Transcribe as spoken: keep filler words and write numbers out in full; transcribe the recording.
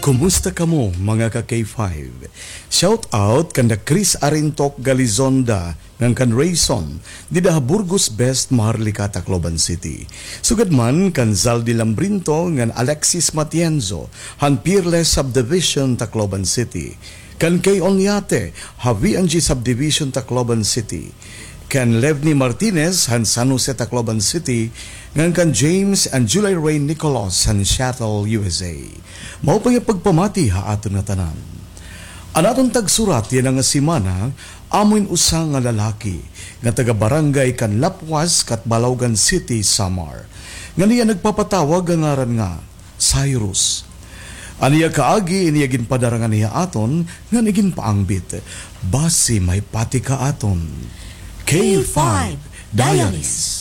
Kumusta kamo, mga ka K five? Shout out kanda Chris Arintok Galizonda ngan kan Rayson, dida ha Burgos Best, Maharlika, Tacloban City. Sugad man kan Zaldi Lambrinto ngan Alexis Matienzo han Peerless Subdivision, Tacloban City. Kan Kay Onyate ha V N G Subdivision, Tacloban City. Kan Levni Martinez han San Jose, Tacloban City, ngan kan James and Julie Ray Nicolas han Seattle, U S A. Mao pa nga pagpamati ha aton ngatanan. An aton tagsurat yana nga semana, amo in usa nga lalaki nga taga barangay kan Lapuas, Catbalogan City, Samar, ngan iya nagpapatawag ha ngaran nga Cyrus. An iya kaagi, in iya ginpadara nganhi ha aton ngan iginpaangbit. Basi mahipati ka aton. K five Diaries.